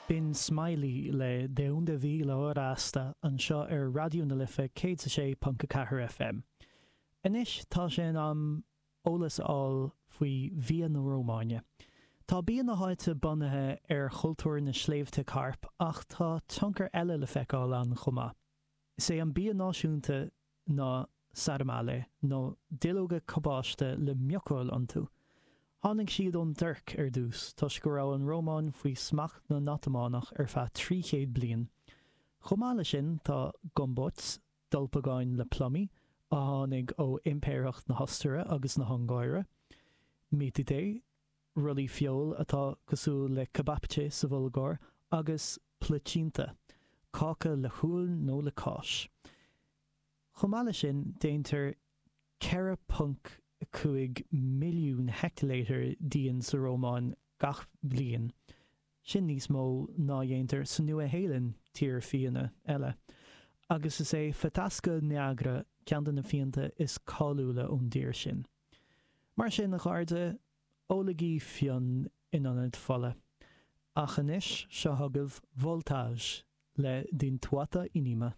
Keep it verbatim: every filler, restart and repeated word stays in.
B'in Smiley le De Unde Vi la Hora Hasta anseo ar Raidió na Life céad a sé ponc a ceathair FM. Anois tá sé in am eolas a fháil faoi bhia na Rómáine. Tá bia na háite bunaithe ar chultúr na sléibhte Cairp ach tá tionchar eile le feiceáil ann chomh maith. Is é an bia náisiúnta ná sarmale, nó duilleoga cabáiste le miochail iontu. Tháinig siad ón dTuirc ar dtús toisc go raibh an Rómáin faoi smacht na nOtamánach ar feadh trí chéad bliain. Chomh maith leis sin tá gombocs, dolpagáin le plumaí, a tháinig ó Impireacht na hOstaire agus na hUngáire, mitite, rollaí feoil atá cosúil le kebapche sa Bhulgáir, agus plăcintă, cáca le huail nó le cáis. Chomh maith leis sin déantar ceithre ponc cúig milliún heicteilítear d'fhíon sa Rómáin gach bliain, sin níos mó ná a dhéantar sa Nua-Shéalainn, tír fíona eile, agus is é Fetească Neagră ceann de na fíonta is cáiliúla ón dtír sin. Mar sin, a chairde, ólaigí fíon in ionad fola. Ach anois, seo chugaibh Voltaj le Din Toată Inima.